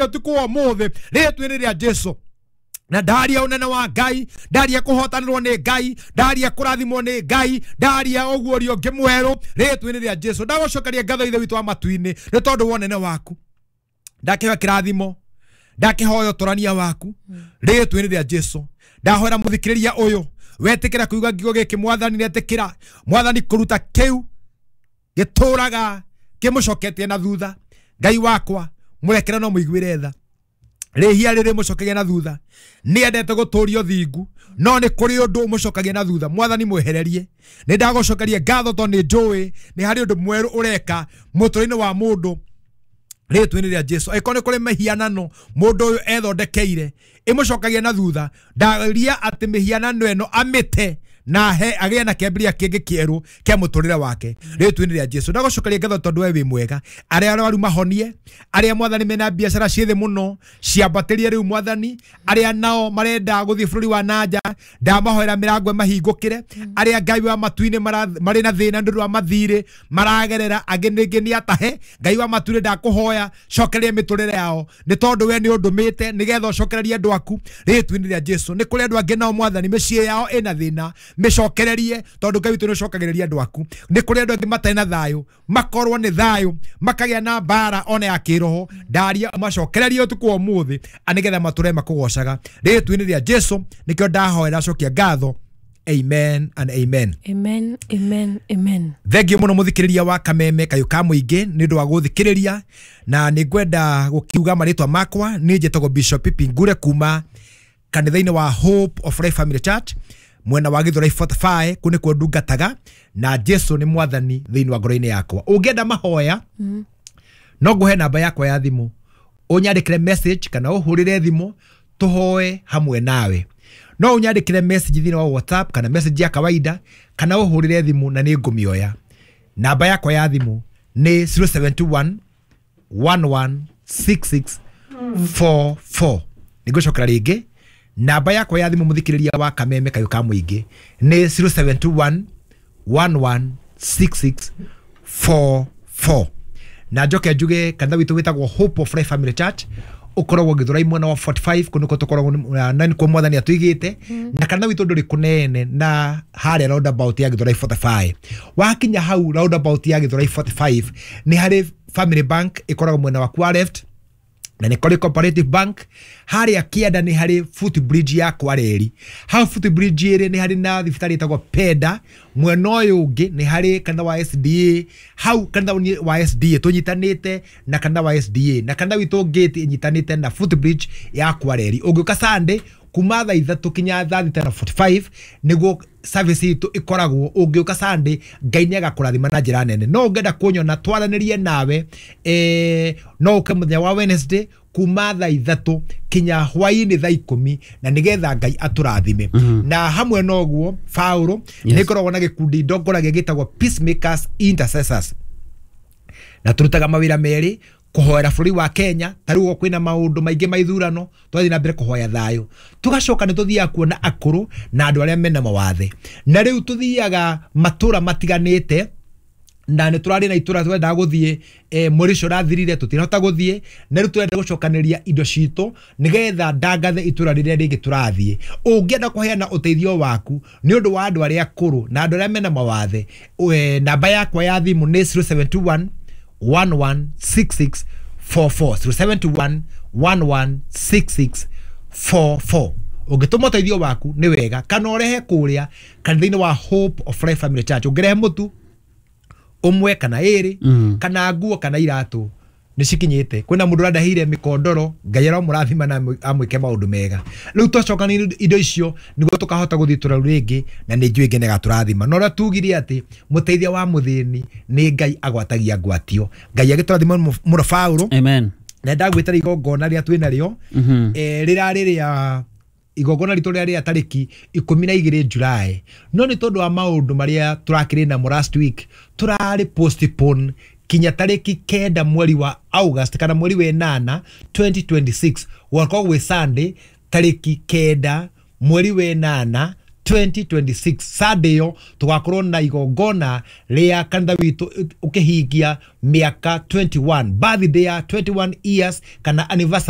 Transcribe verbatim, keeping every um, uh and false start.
Ũtukũ wa ũmũthĩ, rĩtwa-inĩ rĩa Jesu, na ndaria ũnene wa Ngai, ndaria kũhotanĩrwo nĩ Ngai, ndaria kũrathimwo nĩ Ngai, ndaria ũguũrio ũngĩ mwerũ, rĩtwa-inĩ rĩa Jesu. Ndagũcokeria ngatho, Ithe witũ wa matu-inĩ, nĩ tondũ wa ũnene waku. Ndakĩhoya kĩrathimo, ndakĩhoya ũtũrania waku, rĩtwa-inĩ rĩa Jesu. Ndahoera mũthikĩrĩria ũyũ wetĩkĩra kuiga ngiugo gĩkĩ, Mwathani, netĩkĩra, Mwathani, kũruta kĩu gĩtũraga kĩmũcoketie na thutha. Ngai wakwa, mũrekere no mũiguĩre tha. Rĩhia rĩrĩ mũcokagia na thutha, nĩ endete gũtũria ũthingu, no nĩ kũrĩ ũndũ ũmũcokagia na thutha. Mwathani, mwehererie. Nĩ ndagũcokeria ngatho tondũ nĩ njũĩ nĩ harĩ ũndũ mwerũ ũreka mũtũrĩre-inĩ wa mũndũ, rĩtwa-inĩ rĩa Jesu. Angĩkorwo nĩ kũrĩ mĩhianano mũndũ ũyũ ethondekeire ĩmũcokagia na thutha, ndaria atĩ mĩhianano ĩno amĩte na he agĩe na kĩambĩrĩria kĩngĩ kĩerũ kĩa mũtũrĩre wake, rĩtwa-inĩ rĩa Jesu. Ndagũcokeria ngatho tondũ we wĩ mwega. Arĩa arwaru mahonie, arĩa, Mwathani, mena biacara ciĩ thĩ mũno ciambatĩrie rĩu, Mwathani. Arĩa nao marenda gũthiĩ bũrũri wa nanja, ndamahoera mĩrango ĩmahingũkĩre. Arĩa, Ngai wa matu-inĩ, mara- marĩ na thĩna nĩ ũndũ wa mathirĩ maragerera, angĩ ningĩ nĩ atahe, Ngai wa matu-inĩ, ndakũhoya cokereria mĩtũrĩre yao, nĩ tondũ we nĩ ũndũmĩte nĩgetha ũcokererie andũ aku, rĩtwa-inĩ rĩa Jesu. Nĩ kũrĩ andũ angĩ nao, Mwathani, mĩciĩ yao ĩna thĩna, mĩcokererie, tondũ Ngai witũ nĩ ũcokagĩrĩria andũ aku. Nĩ kũrĩ andũ angĩ matarĩ na thayũ, makorwo nĩ thayũ, makagĩa na mbara ona ya kĩroho. Ndaria macokererie ũtukũ wa ũmũthĩ, nĩgetha matũre makũgocaga, rĩtwa-inĩ rĩa Jesu. Nĩkĩo ndahoera, cokia ngatho. Amen and amen. Amen, amen, amen. Thengiũ mũno, mũthikĩrĩria wa Kameme Kayũ ka Mũingĩ, nĩ ũndũ wa gũthikĩrĩria. Na nĩ ngwenda gũkiuga marĩtwa makwa nĩ njĩtagwo Bishop Pipi Ngure kuma kanitha-inĩ wa Hope of Life Family Church, mwena wa Githurai mĩrongo ĩna na ithano. Kũu nĩkuo ndungataga, na Jesu nĩ Mwathani thĩinĩ wa ngoro-inĩ yakwa. Ũngĩenda mahoya, no ngũhe namba yakwa ya thimũ, ũnyandĩkĩre message kana ũhũrĩre thimũ tũhoe hamwe nawe. No ũnyandĩkĩre message thĩinĩ wa WhatsApp kana message ya kawaida, kana ũhũrĩre thimũ na nĩ ngũmĩoya. Namba yakwa ya thimũ nĩ zero seven two one one one six six four four. Nĩ ngũcokera rĩngĩ, namba yakwa ya thimũ, mũthikĩrĩria wa Kameme Kayũ ka Mũingĩ, nĩ zero seven two one one one six six four four. Na njoke njuge kanitha witũ wĩtagwo Hope of Life Family Church, ũkoragwo Gĩthũrai mwena wa mĩrongo ĩna na ithano. Kũu nĩkuo tũkoragwo na nĩkuo Mwathani atũigĩte. Na kanitha witũ ndũrĩ kũnene na harĩa roundabout ya Gĩthũrai mĩrongo ĩna na ithano. Wakinya hau roundabout ya Gĩthũrai mĩrongo ĩna na ithano, nĩ harĩ Family Bank ĩkoragwo mwena waku wa left, na nĩ kũrĩ Cooperative Bank harĩa kĩanda. Nĩ harĩ footbridge ya Kwareri. Hau footbridge ĩrĩ nĩ harĩ na thibitarĩ ĩtagwo Penda. Mwena ũyũ ũngĩ nĩ harĩ kanitha wa S D A. Hau kanitha wa S D A tũnyitanĩte na kanitha wa S D A, na kanitha witũ gate ĩnyitanĩte na footbridge ya Kwareri. Ũngĩũka Sunday kuma thaa ithatũ kinya thaa thita na mĩrongo ĩna na ithano nĩguo service itũ ĩkoragwo. Ũngĩũka Sunday, Ngai nĩ agakũrathima na njĩra nene. No ũngĩenda kũnyona twaranĩrie nawe, eh, no ũke mũthenya wa Wednesday kuma thaa ithatũ kinya hwainĩ thaa ikũmi, na nĩgetha Ngai atũrathime. Na hamwe na ũguo, Paũlũ, Yes. nĩ ngoragwo na gĩkundi ndongoragia gĩtagwo Peacemakers Intercessors, na turutaga mawĩra merĩ: kũhoera bũrũri wa Kenya, ta rĩu kwĩna maũndũ maingĩ ma ithurano, twathiĩ na mbere kũhoya thayũ. Tũgacoka nĩ tũthiaga kuona akũrũ na andũ arĩa mena mawathe, na rĩu tũthiaga matũra matiganĩte, na nĩ tũrarĩ na itũra twendaga gũthiĩ eh, mweri ũcio ũrathirire, tũtinahota gũthiĩ, na rĩu tũrenda gũcokanĩria indo citũ nĩgetha ndangathe itũra rĩrĩa rĩngĩ tũrathiĩ. Ũngĩenda kũheana ũteithio waku nĩ ũndũ wa andũ arĩa akũrũ na andũ arĩa mena mawathe, eh, namba yakwa ya thimũ nĩ zero seven two one one one six six four four, zero seven two one one one six six four four. Ũngĩtũma ũteithio waku nĩ wega, kana ũrehe kũrĩa kanitha-inĩ wa Hope of Life Family Church. Ũngĩrehe mũtu ũmwe kana ĩrĩ, Mm. kana nguo kana iratũ, nĩ cikinyĩte. Kwĩna mũndũ ũrandaheire mĩkondoro, Ngai aromũrathima na amwĩ- amwĩke maũndũ mega. Rĩu twacokania indo icio nĩguo tũkahota gũthiĩ itũra rĩu rĩngĩ, na nĩ njũĩ Ngai nĩagatũrathima. Na ũrĩa tugire atĩ mũteithia wa mũthĩni nĩ Ngai agwatagia ngwatio. Ngai agĩtũrathima mũno, Paũlũ. Amen. Na ndagwĩtara igongona rĩrĩa twĩ narĩo, Mhm. eh, rĩrarĩ rĩa igongona ritũ rĩrĩa rĩa tarĩki ikũmi na igĩrĩ July, no nĩ tondũ wa maũndũ marĩa tũrakĩrĩ namo last week, tũrarĩ postpone kinya tarĩki kenda mweri wa August kana mweri wa ĩnana twenty twenty-six. Gwakorwo gwĩ Sunday, tarĩki kenda mweri wa ĩnana twenty twenty-six, Sunday ĩyo tũgakorwo na igongona rĩa kanitha witũ ũkĩhingia mĩaka twenty-one, birthday ya twenty-one years kana anniversary.